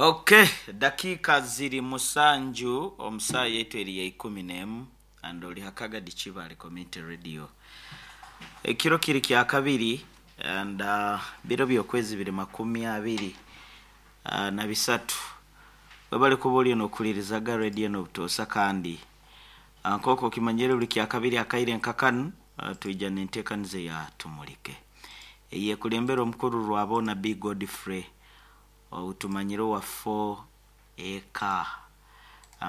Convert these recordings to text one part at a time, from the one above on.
Okay, dakiika ziri musanju omu saaha yaitu eri ya ikumi n'emu and ori ha Kagadi Kibaale Community Radio. Ekiro kiri kyakabiri and biro by'okwezi biri 24. Webale kuba oriyo nokuhuririzaga radio enu obutoosa kandi nk'oku okimanyire buri kyakabiri akaire nka kanu twija n'enteekaniza eya Tumurike eyekulembera omukuru Rwaboona B Godfrey ou tumanyire owa 4 Eka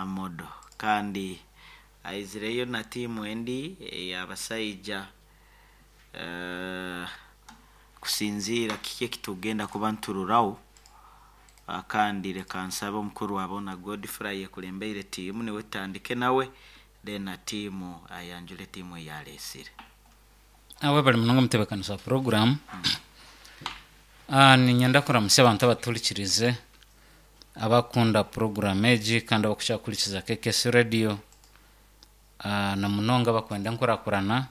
Model kandi aizireyo na tiimu endi ey'abasaija kusinziira kiki ekitugenda kuba nituroraho kandi leka nsabe omukuru Rwaboona Godfrey ayekulembeire tiimu niwe tutandike nawe then na tiimu ayanjule tiimu ei aleesire. Webale munonga omutebeekanisa wa puroguraamu. Niinyenda kuramutsya abantu abatuhurikiriize, abakukunda puroguraamu egi kandi abarikukira kuhurikiza KKS Radio na munonga abakwenda enkurakurana,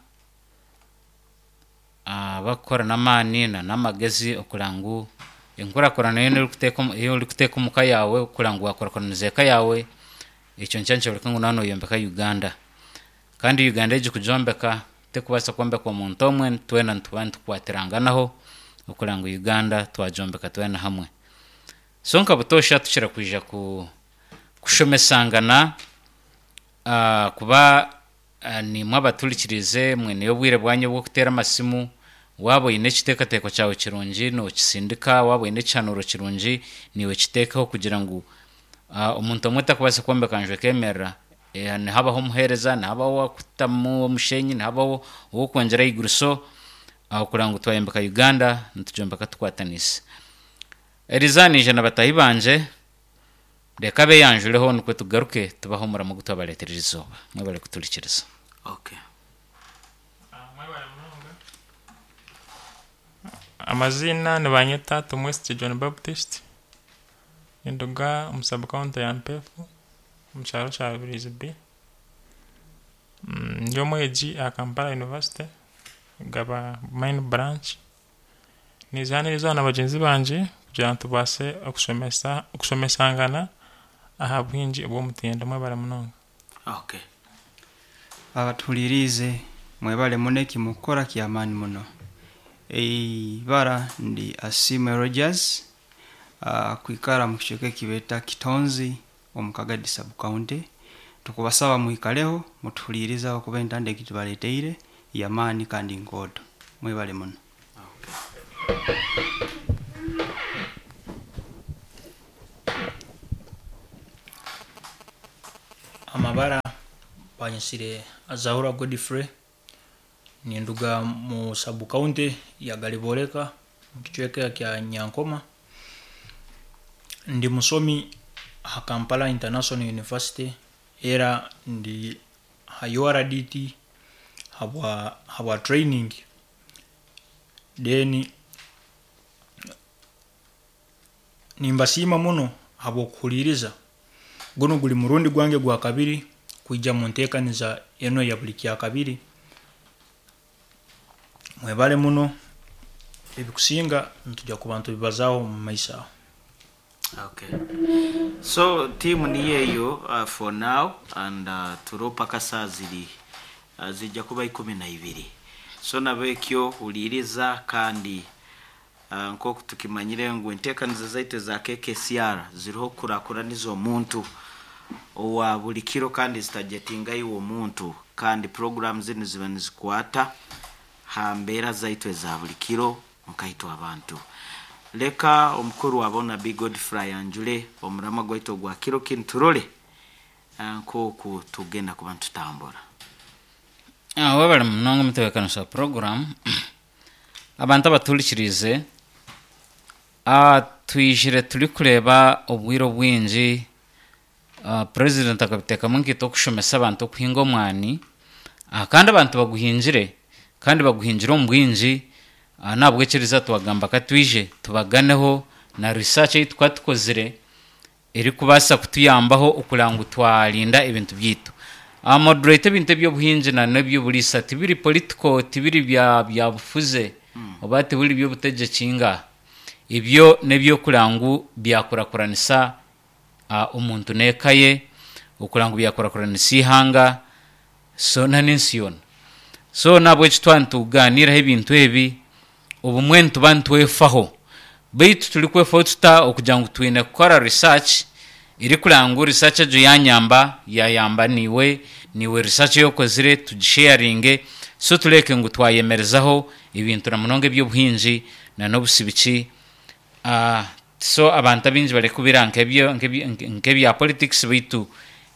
abakukora n'amaani na n'amagezi okureba ngu enkurakurana yoona ei orikuteeka omu ka yaawe okureba ngu waakurakuraniza eka yaawe, ekyo nikyo nikyoreka ngu waaba nooyombeka Uganda. Kandi Uganda egi kugyombeka terikubaasa kwombekwa omuntu omwe, twena nituba nitukwatiranganaho okureba ngu Uganda twagyombeka twena hamwe. So nka butoosha tukira kwija ku kushomesangana kuba naimwe abatuhurikiriize mwineyo obwire bwanyu obw'okuteera amasimu, waaba oine ekiteekateeko kyawe kirungi nookisindika, waaba oine ekihanuuro kirungi naiwe kiteekeho kugira ngu omuntu omwe tarikubaasa kwombeka nju ekeemerera. Nihabaho omuheereza, nihabaho ow'okutamu omushenyi, nihabaho ow'okwongyera ahaiguru so kureba ngu twayombeka Uganda nitugyombeka tukwataniise. Eriizooba naija na bataahi bangye, reka beeyanjureho nikwo tugaruke tubahe omurimo ogu twabareetera erizooba. Mwebare kuturikiriza. Okay. Mwebale munonga. Amaziina nibanyeta Tumwesigye John Baptist, ninduga omu sub county ya Mpeefu omu kyaro kya Rubirizi B. Ndi omwegi aha Kampala University Gaba main branch. Niiza na bagyenzi bangye kugira ngu tubaase okushomesa okushomesangana aha buhingi obw'omutindo. Mwebale munonga. Okay. Abatuhuririize mwebale muno eki mukukora ky'amaani muno. Eibara ndi Asiimwe Rogers, kwikara omu kicweka eki beeta Kitonzi omu Kagadi sub county. Tukubasaba mwikareho mutuhuriirize ahabw'okuba entanda egi tubaleeteire y'amaani kandi nkooto. Mwebale muno. Amabara banyetsire Azahura Godfrey, ninduga mu sub county ya Gariboreka omu kicweka kya Nyankoma. Ndi mushomi aha Kampala International University era ndi aha URDT habwa habwa training then nimbasiima muno ahabw'okuhuriiriza. Gunu guri murundi gwange gwa kabiri kwija omu nteekaniza enu eya buri kyakabiri. Mwebale muno, ebikusinga nitwija kuba nitubibazaaho omu maiso aho. Okay. So team niyo eyo for now and turiho paka saaha ziri zija kuba 12. So nabekyo huriiriza kandi nk'oku tukimanyire ngu enteekaniza zaitu eza KKCR ziriho kukurakuraniza omuntu owa buri kiro kandi zitajetinga iwe omuntu kandi puroguramu zinu ziba nizikwata ha mbeera zaitu eza buri kiro nkaitwe abantu. Leka omukuru wa boona B Godfrey ayanjule omuramwa gwaitu ogwa kiro kinu turole nk'oku tugenda kuba nitutambura. Webale munonga omutebeekanisa wa puroguraamu. Abantu abatuhurikiriize, twijire turikureeba obwire obwingi purezidenti akabiteekamu nkaitwe okushomesa abantu okuhinga omwani, kandi abantu baguhingire kandi baguhingire omu bwingi n'ahabw'ekyeriza twagamba ka twije tubaganeho na research ei tukuba tukozire erikubaasa kutuyambaho okureba ngu twarinda ebintu byaitu. Moderator ebintu eby'obuhingi na n'eby'oburiisa tibiri political tibiri bya byabufuze oba tibiri by'obutegyeki inga. Ebyo n'ebyokureba ngu byakurakuranisa omuntu n'eka ye, okureba ngu byakurakuranisa eihanga so n'ensi yoona. So n'ahabw'ekyo twaba nitugaaniiraho ebintu ebi, obumwe nituba nitwefaho. Beitu turikwefaho tuta okugira ngu twine kukora research erikureba ngu research egyo yanyamba, yayamba naiwe, naiwe research ei okozire tugisheyaringe so tureebeke ngu twayemerezaho ebintu na munonga eby'obuhingi na n'obusibiki. So abantu abaingi barikubira nk'ebya politics beitu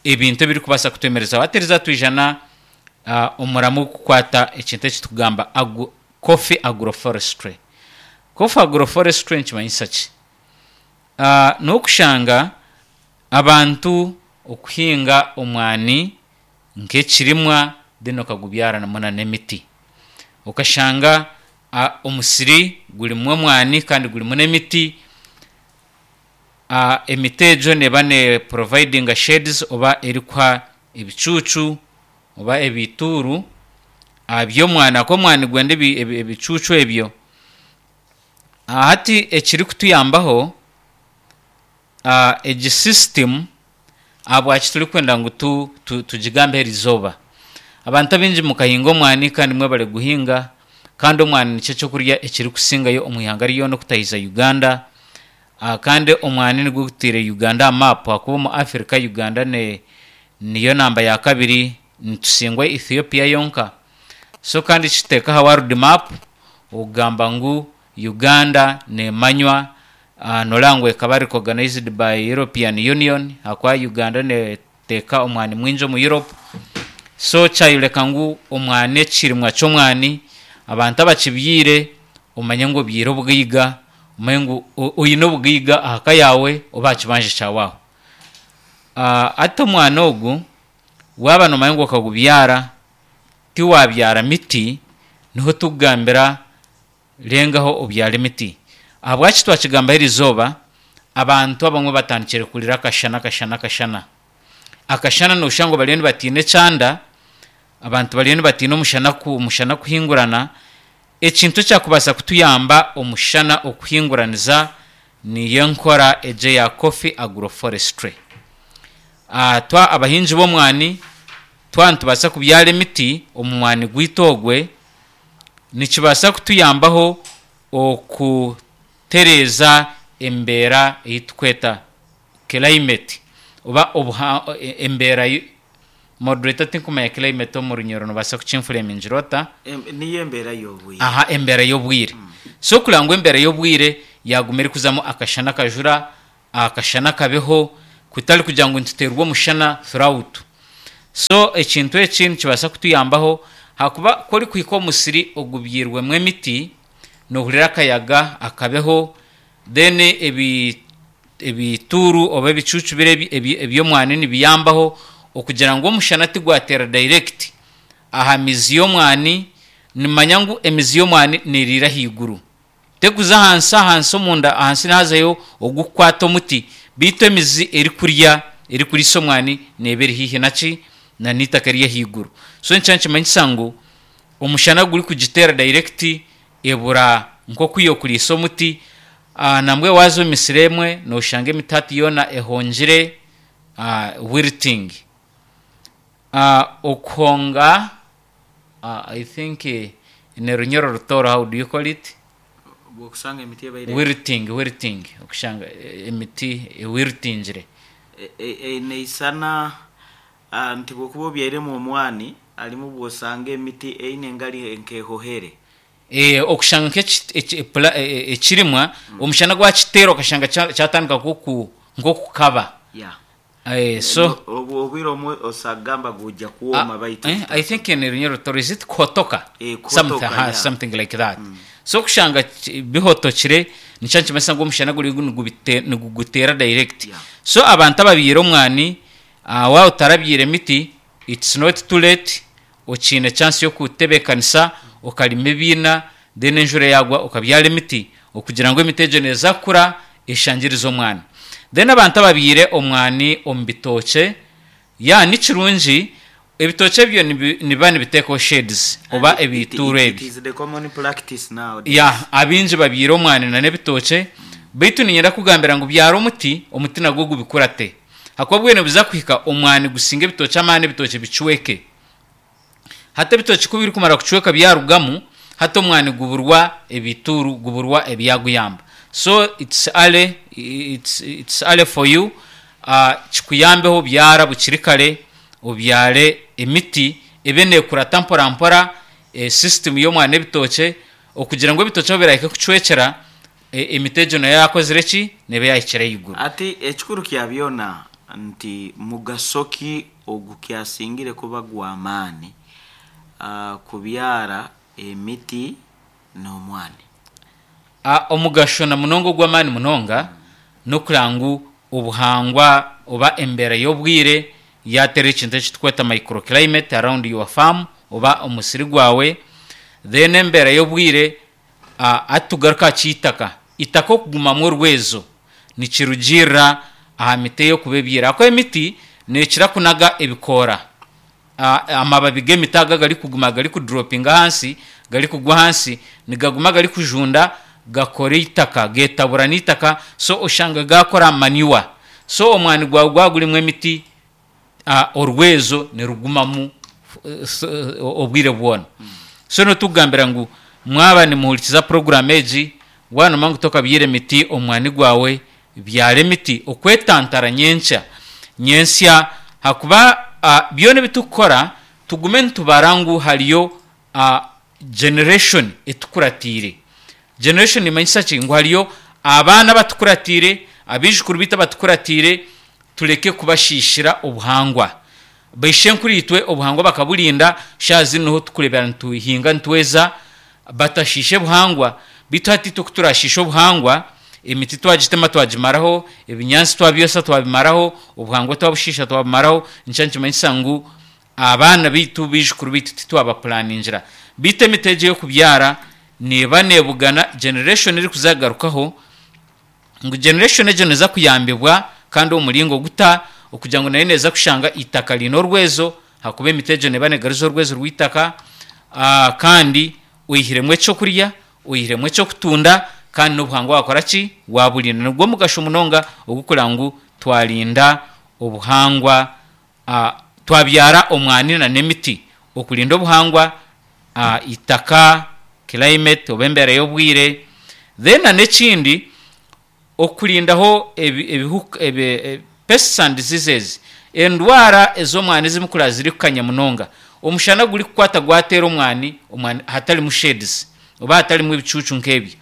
ebintu ebirikubaasa kutwemerezaho. Hati eriizooba twija na omuramwa ogurikukwata ekintu eki turikugamba coffee agroforestry. Coffee agroforestry nikimanyisa ki? N'okushanga abantu okuhinga omwani nk'ekirimwa then okagubyaranamu nana emiti. Okashanga omusiri gurimu omwani kandi gurimu n'emiti, emiti egyo neeba ne providinga shades oba erikuha ebicuucu oba ebituuru by'omwani ahakuba omwani nigwenda ebicuucu ebyo. Hati ekirikutuyambaho egi system ahabwaki turikwenda ngu tugigambeho erizooba, abantu abaingi mukahinga omwani kandi mwebare kuguhinga kandi omwani nikyo ky'okurya ekirikusingayo omu ihanga ryona okutahiza Uganda kandi omwani nigwo gutaire Uganda aha maapu ahakuba omu Africa Uganda niyo namba ya kabiri nitusingwa Ethiopia yonka. So kandi kituteeka aha world map okugamba ngu Uganda nemanywa noreeba ngu ekaba recognized by European Union ahakuba Uganda neteeka omwani mwingi omu Europe so kyayoreka ngu omwani ekirimwa ky'omwani abantu abakibyaire omanye ngu obyaire obugaiga omanye ngu oine obugaiga aha ka yaawe oba aha kibanja kyawe aho. Hati omwani ogu waaba nomanya ngu okagubyara tiwabyara miti, niho turikugambira rengaho obyare emiti. Ahabwaki twakigambaho erizooba, abantu abamwe batandikire kurira akashana, akashana, akashana. Akashana nooshusha ngu bariyo nibatiina ekyanda, abantu bariyo nibatiina omushana omushana kuhingurana. Ekintu ekyakubaasa kutuyamba omushana okuhinguraniza niyo enkora egyo eya coffee agroforestry. Twa abahingi b'omwani Twaba nitubaasa kubyara emiti omu mwani gwaitu ogwe, nikibaasa kutuyambaho okutereeza embeera ei turikweta climate oba embeera Moderator tinkumanya climate omu Runyoro nobaasa kukinfuremingira ota? Niyo embeera y'obwire. Aha embeera y'obwire. So kureba ngu embeera y'obwire yaaguma erikuzamu akashana akajura, Akashana kabeho kutari kugira ngu nituteerwa omushana throughout. So ekintu eki nikibaasa kutuyambaho ahakuba ku orikuhika omu musiri ogubyairwemu emiti nohurira akayaga akabeho then ebi ebituuru oba ebicuucu biri eby'omwani nibiyambaho okugira ngu omushana tigwateera direct aha mizi y'omwani. Nimanya ngu emizi y'omwani neriira ahaiguru. Tekuza ahansi ahansi omunda ahansi nihazayo ogukukwata omuti beitu emizi erikurya erikuriisa omwani neeba eri haihi naki na n'eitaka ery'ahaiguru so nikyo nikimanyisa ngu omushana gurikugiteera direct ebura nk'oku yokuriisa omuti nambwenu waaza omu misiri emwe noshanga emiti hati yoona ehongire wilting okuhonga I think in Runyoro Rutooro how do you call it? Bwokusanga emiti ebaire Wilting, wilting, okushanga emiti ewiltingire. Neisana nti bwokuba obyairemu omwani harimu bwosanga emiti eine engari nkehohere. Okushanga nk'ekirimwa omushana gwakiteera okashanga kyatandika nk'okukaba. Yeah. So. Obwire obumwe osagamba gujya kwoma baitu. I think in Runyoro Rutooro is it kuhotoka? Kuhotoka, yeah. Something like that. So kushanga bihotokire nikyo nikimanyisa ngu omushana guriyo niguguteera direct. Yeah. So abantu ababyaire omwani waaba otarabyaire miti it's not too late okiine chance y'okutebeekanisa okarima ebiina then enjura yaagwa okabyara emiti okugira ngu emiti egyo neeza kukura eshangirize omwani. Then abantu ababyaire omwani omu bitookye, yeah ni kirungi. Ebitookye ebyo nibiba nibiteekaho shades oba And it, ebituuro it, it ebyo. is the common practice nowadays. Ya, abaingi babyaire omwani na n'ebitookye, beitu niinyenda kukugambira ngu byara omuti, omuti nagwo gubikurate. Ahakuba obwire nibuza kuhika omwani gusinge ebitookye amaani ebitookye bicweke. Hati ebitookye ku birikumara kucweka byarugamu, hati omwani guburwa ebituuru, guburwa ebyaguyamba. So it's early, it's, it's early for you, kikuyambeho byara bukiri kare, obyare emiti ebe neekurata mpora mpora system y'omwani n'ebitookye, okugira ngu ebitookye ahu birahike kucwekyera, emiti egyo nayo yaakozire ki? Neeba yaahikire ahaiguru. Hati ekikuru kya byona nti mugaso ki ogukyasingire kuba gw'amaani kubyara emiti n'omwani? Omugasho na munonga ogw'amaani munonga n'okureba ngu obuhangwa oba embeera y'obwire yaateera ekintu eki turikweta microclimate around your farm oba omusiri gwawe then embeera y'obwire Hati tugaruke aha ky'eitaka. Eitaka okugumamu orwezo nikirugiirira aha miti ei orikuba ebyaire. Ahakuba emiti neekira kunaga ebikoora. Amababi g'emiti ago agarikuguma garikuduropinga ahansi, garikugwa ahansi, nigaguma garikujunda gakora eitaka, geetabura n'eitaka so oshanga gaakora manure. So omwani gwawe gwaba gurimu emiti, orwezo nirugumamu obwire bwona. So n'otukugambira ngu mwaba nimuhurikiza puroguraamu egi, waaba noomanya ngu tokabyaire miti omu mwani gwawe, byara emiti okwetantara nyenkya nyentsya ahakuba byona ebi turikukora tugume nitubara ngu hariyo generation etukuratiire. Generation neemanyisa ki? Ngu hariyo abaana abatukuratiire, abaijukuru baitu abatukuratiire, Tureke kubashiishira obuhangwa. Baishenkuriitwe obuhangwa bakaburinda, shaaha zinu niho turikureebera nituhinga nitweza, batashiishe buhangwa. Beitu hati itwe ku turaashiishe obuhangwa, emiti twagitema twagimaraho, ebinyaatsi twabyosa twabimaraho, obuhangwa twabushiisha twabumaraho, nikyo nikimanyisa ngu abaana baitu, baijukuru baitu titwabapulaningira. Beitu emiti egi ey'okubyara neeba neebugana generation erikuza kugarukaho, ngu generation egyo neza kuyambibwa kandi omu muringo guta okugira ngu nayo neza kushanga eitaka riine orwezo ahakuba emiti egyo neba negaruza orwezo rw'eitaka kandi oihiremu ekyokurya, oihiremu ekyokutunda kandi n'obuhangwa wakora ki? Waburinda. Nigwo mugasho munonga ogw'okureba ngu twarinda obuhangwa twabyara omwani na n'emiti okurinda obuhangwa, eitaka, climate oba embeera y'obwire. Then na n'ekindi okurindaho ebihuka, pests and diseases, endwara ez'omwani ezimwe kuraba zirikukanya munonga. Omushana gurikukwata gwateera omwani, omwani hatarimu shades oba hatarimu ebicuucu nk'ebyo,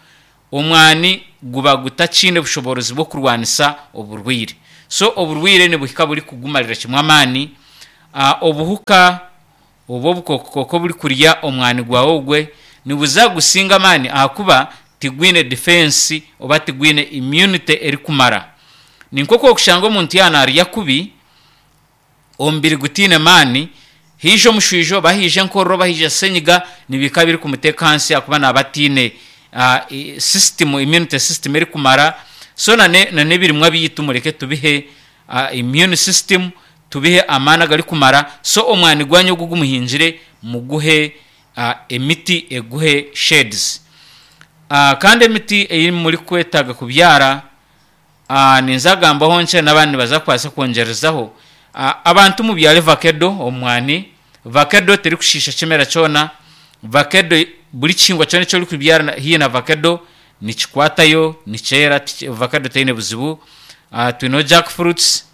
Omwani guba gutakiine bushoboorozi bw'okurwanisa oburwaire. So oburwaire nibuhika burikugumarira kimwe amaani. Obuhuka oba obukookokoko oburikurya omwani gwawe ogwe nibuza kugusinga amaani ahakuba tigwine defense oba tigwine immunity erikumara. Ni nk'oku orikushanga omuntu yaaba naarya kubi, omubiri gutaine maani, haija omushwijo oba haija enkorora oba haija senyiga nibihika birikumuteeka ahansi ahakuba naaba ataine system, immunity system erikumara. So na n'ebirimwa byaitu mureke tubihe immune system, tubihe amaani agarikumara, so omwani gwanyu ogu ogu muhingire muguhe emiti eguhe shades. Kandi emiti ei murikwetaaga kubyara Ninza kugambaho nkye n'abandi nibaza kubaasa kwongyerezaho. Abantu mubyare vakedo omu mwani. Vakedo terikushiisha kimera kyona. Vakedo buri kihingwa kyona eki orikubyara haihi na vakedo nikikwatayo, nikyera, vakedo teine buzibu. Twineho jack fruits,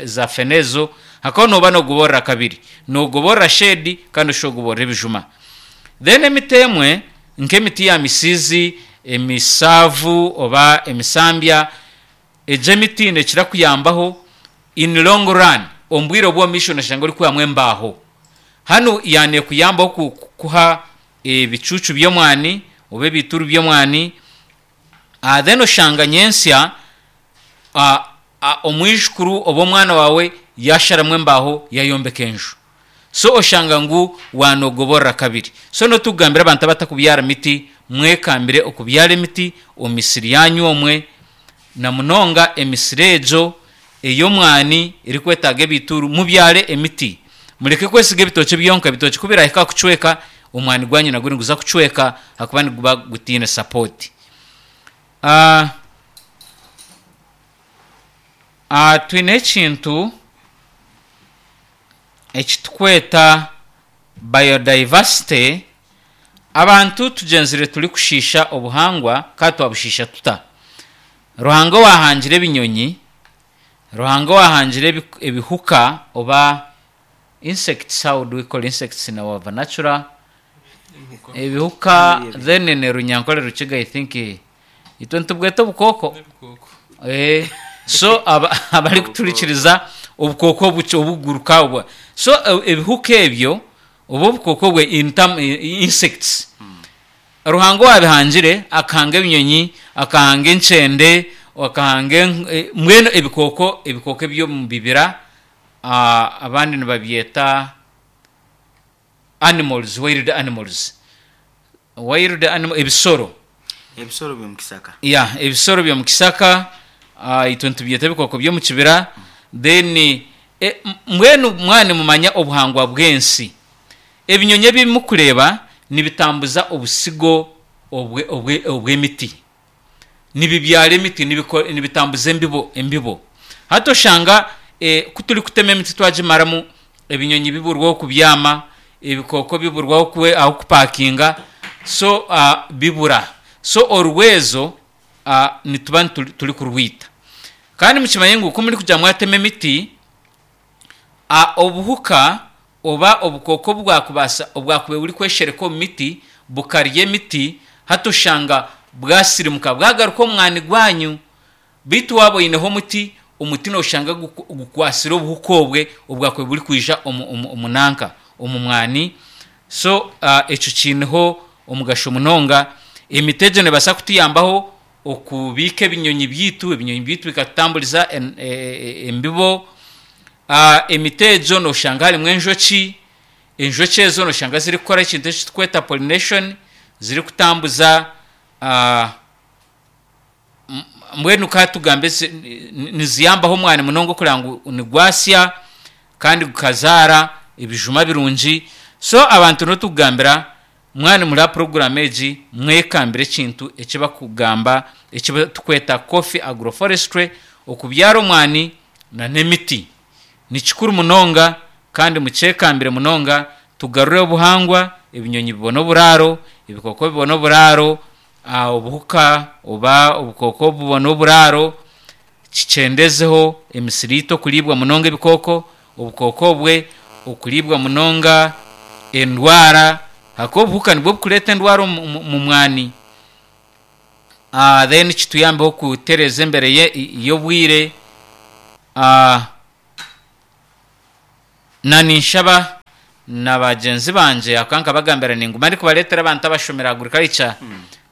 za fene ezo. Hakaho nooba noogoborora kabiri, noogoborora shade kandi oshusha ogoborora ebijuma. Then emiti emwe nk'emiti ya misiizi, emisaavu oba emisambya, egyo emiti neekira kuyambaho in long run, omu bwire obw'omu maisho noshanga orikwihamu embaaho. Hanu yaanekuyambaho kukuha ebicuucu by'omwani oba ebiituuru by'omwani, then oshanga nyentsya omwijukuru oba omwana waawe yaasharamu embaaho yaayombeka enju. So oshanga ngu waanogoborora kabiri. So n'otukugambira abantu abatakubyara miti, mwekambire okubyara emiti omu misiri yaanyu omwe, na munonga emisiri egyo ey'omwani erikwetaaga ebituuru, mubyare emiti. Mureke kwesiga ebitookye byonka, ebitookye ku birahika aha kucweka, omwani gwanyu nagwo niguza kucweka ahakuba niguba gutaine sapoti. Twine ekintu eki turikweta biodiversity, abantu tugyenzire turikushiisha obuhangwa kandi twabushiisha tuta? Ruhanga owaahangire ebinyonyi, Ruhanga owaahangire ebihuka oba insects, how do we call insects in our vernacular? Ebihuka then in Runyankore Rukiga I think itwe nitubweta obukooko. So abarikuturikiriza obukooko obukye obuguruka obwo. So ebihuka ebyo oba obukooko obwe in term insects Ruhanga owabihangire akahanga ebinyonyi, akahanga enkyende, akahanga mbwenu ebikooko ebikooko eby'omu bibira abandi nibabyeta animals, wild animals. Wild animal ebisoro. Ebisoro by'omu kisaka. Yeah, ebisoro by'omu kisaka itwe nitubyeta ebikooko by'omu kibira then mbwenu mwaba nimumanya obuhangwa bw'ensi, ebinyonyi ebi murikureeba nibitambuza obusigo obw'emiti. Nibibyara emiti, nibitambuza embibo embibo. Hati oshanga ku turikutema emiti twagimaramu, ebinyonyi biburwa ah'okubyama, ebikooko biburwa ah'okupakinga, so bibura. So orwezo nituba turikurwita. Kandi mukimanye ngu ku murikugira mwatema emiti, obuhuka oba obukooko obwakubaasa obwakubaire burikweshereka omu miti bukarya emiti, hati oshanga bwasirimuka bwagaruka omu mwani gwanyu. Beitu waaba oineho omuti, omuti nooshanga gukwatsire obuhuka obwe obwakubaire burikwija omu nanka, omu mwani. So ekyo kiineho omugasho munonga. Emiti egyo neebaasa kutuyambaho okubiika ebinyonyi byaitu, ebinyonyi byaitu bikatutamburiza embibo. Emiti egyo nooshanga harimu enjoki, enjoki ezo nooshanga zirikukora ekintu eki turikweta pollination, zirikutambuza Mbwenu ka tugambe niziyambaho omwani munonga okureba ngu nigwasya kandi gukazaara ebijuma birungi. So abantu n'otukugambira mwaba nimuri aha puroguraamu egi mwekambire ekintu eki bakugamba eki turikweta coffee agroforestry okubyara omwani n'emiti. Ni kikuru munonga kandi mukyekambire munonga tugarure obuhangwa, ebinyonyi bibone oburaaro, ebikooko bibone oburaaro, Obuhuka oba obukooko bubone oburaaro, kikyendezeho emisiri yaitu okuriibwa munonga ebikooko, obukooko obwe okuriibwa munonga endwara ahakuba obuhuka nibwo burikureeta endwara omu mwani. Then kituyambeho kutereeza embera y'obwire. Na ninshaba na bagyenzi bangye ahakuba nkabagambira ninguma ndikubareetera abantu abashomire agriculture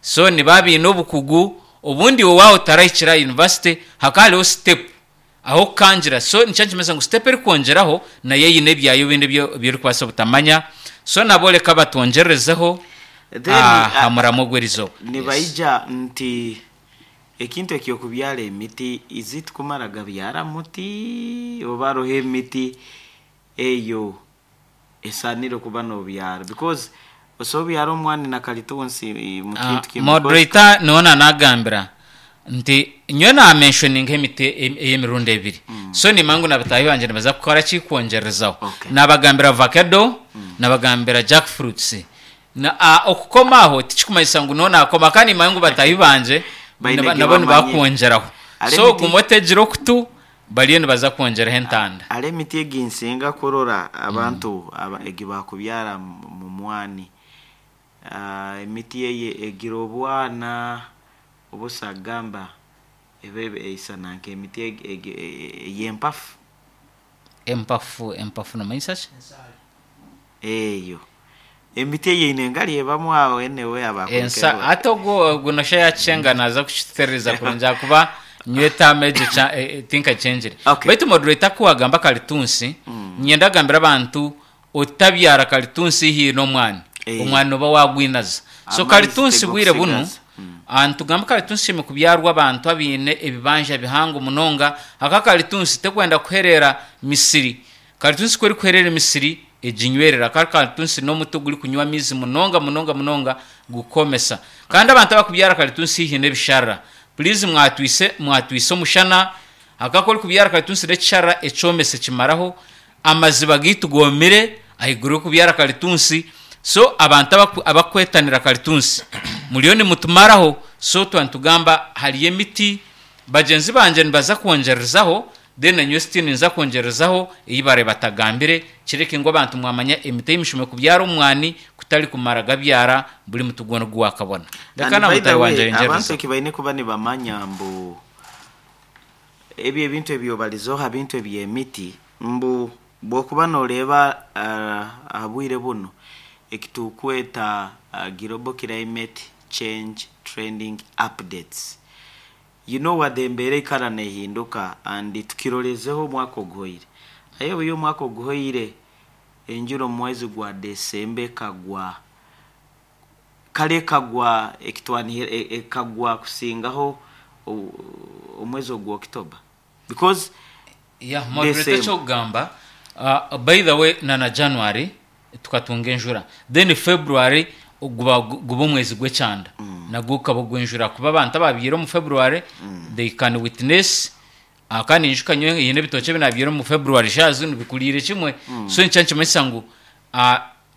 so nibaba baine obukugu obundi iwe waaba otarahikire aha university hakaba hariho step ah'okukangira so nikyo nikimanyisa ngu step erikwongyeraho nayo eine ebyayo ebindi ebi orikubaasa obutamanya so nabo reka batwongyererezeho Then, aha muramwa ogw'erizooba. Yes. Nibaija nti Ekintu eky'okubyara emiti, is it kumara gabyara muti oba haroho emiti eyo esaanire kuba nobyara because osobola obyara omwani na kalitunsi mu kintu kimu because Moderator niwe nanagambira nti nyowe na mentioninga emiti ey'emirundi ebiri so nimanya ngu na bataahi bangye nibaza kukora ki kwongyerezaho. Okay. Nabagambira avacado, nabagambira jack fruits. Na a okukoma aho tikikumanyisa ngu noona akoma kandi nimanya ngu bataahi bangye Baine naba eki nabo bamanyire. nibakwongyeraho. Hariho So emiti guma otegire okutu bariyo nibaza kwongyeraho entanda. Hariho emiti egi nsinga kurora abantu aba egi bakubyara mu mwani. Emiti eye egira obwana obusagamba ebe eisana nk'emiti egi ey'empafu. Empafu empafu nomanyisa ki? Eyo emiti eyeine engari ebamu aho anyway Ensa abakurikirwa. hati ogwo ogwo nosha yakyenga naza kukituterereza kurungi ahakuba nyowe etaama egyo kya tinkakyengire. Okay. Baitu moderator ku wagamba kalitunsi, niinyenda kugambira abantu otabyara kalitunsi haihi n'omwani, Eh. omwani nooba waagwinaza. So Amaizi kalitunsi bwire bunu, tegokusigaza. nitugamba kalitunsi eshemereire kubyarwa abantu abaine ebibanja bihango munonga ahakuba kalitunsi tekwenda kuhereera misiri. Karitunsi ku erikuherera emisiri eginywerera kandi karitunsi n'omuti ogurikunywa amaizi munonga munonga munonga gukomesa. Kandi abantu abakubyara karitunsi haihi n'ebisharara, purizi mwatwise mwatwise omushana, ahabw'okuba ku orikubyara karitunsi n'ekisharara ekyomese kimaraho, amaziba gaitu goomire ahaiguru y'okubyara karitunsi, so abantu abaku abakwetanira karitunsi muriyo nimutumaraho, so twaba nitugamba hariyo emiti, bagyenzi bangye nibaza kwongyerezaho, then nanyowe still ninza kwongyerezaho ei barabe batagambire, kireke ngu abantu mwamanya emiti ei mushemereire kubyara omu mwani kutari kumara gabyara buri muti gwona ogu waakabona. Reka And na by the mutaahi wangye way, abantu ayongyerezeho. eki baine kuba nibamanya mbu ebyo ebintu ebi obarizeho aha bintu eby'emiti, mbu bw'okuba nooreeba aha bwire bunu eki turikweta Global Climate Change Trending Updates, you know what embeera eikara neehinduka and tukirorezeho omwaka oguhoire. Aye obu omwaka oguhoire enjura omu mwezi gwa December ekagwa, kare ekagwa ekitwanihira ekagwa kusingaho omwezi ogwa October because Yeah, moderator December. ekyokugamba by the way na na January tukatunga enjura then February guba guba omwezi gw'ekyanda nagwo gukaba ogw'enjura kuba abantu abaabyaire omu February they can witness kandi ninyijuka nyowe haine ebitookye ebi naabyire omu February shaaha zinu bikuriire kimwe so nikyo nikimanyisa ngu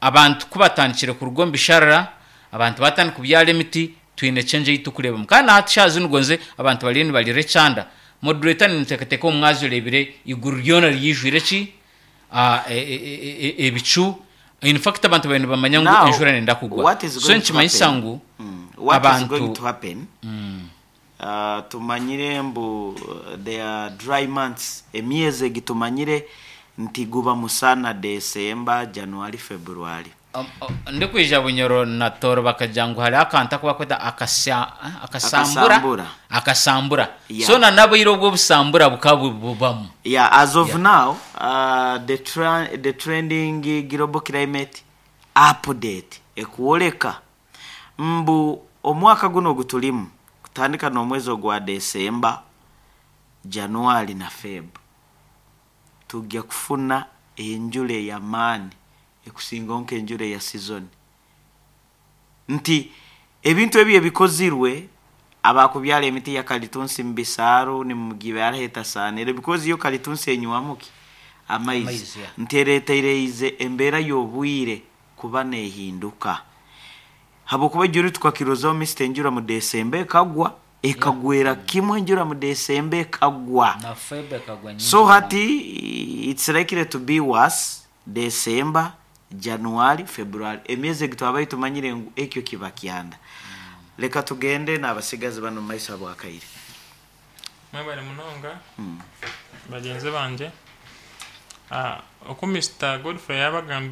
abantu ku batandikire kuruga omu bisharara abantu baatandika kubyara emiti twine change ei turikureebamu kandi na hati shaaha zinu gonze abantu bariyo nibarira ekyanda Moderator ninteekateeka omu mwazyo oreebire eiguru ryona ryaijwire ki? Ebicu. In fact abantu baabaire nibamanya ngu Now, enjura neyenda kugwa. what is So going to nikimanyisa happen? ngu What is going abantu to happen? Tumanyire mbu there are dry months, emyezi egi tumanyire nti guba musana December, January, February. Ndikwija Bunyoro na Tooro bakagira ngu hariho akantu aku barikweta akasambura Akasambura. akasambura Yeah. so na n'obwire obwo obusambura bukaba bubamu. Yeah, as of Yeah. now, the trending global climate update ekworeka mbu omwaka guno ogu turimu kutandika n'omwezi ogwa December, January na Feb tujya kufuna enjura ey'amaani ekusingaho nk'enjura eya season. Nti ebintu ebi ebikozirwe abakubyara emiti ya kalitunsi mu bisaaru nimugibyara ahetasaanire because yo kalitunsi enywamu ki? Amaizi. Amaizi, yeah. Nti ereetereize embeera y'obwire kuba neehinduka. Habwokuba ejuru tukakirozaho Mister enjura mu December ekagwa, ekagwera kimwe enjura mu December ekagwa. Na Feb ekagwa nyingi So munonga. hati it's likely to be worse December, January, February. Emyezi egi twabaire tumanyire ngu ekyo kiba kyanda. Leka tugende n'abasigazi banu omu maiso habw'akaire. Mwebare munonga bagyenzi bangye. Oku Mister Godfrey yabagambire.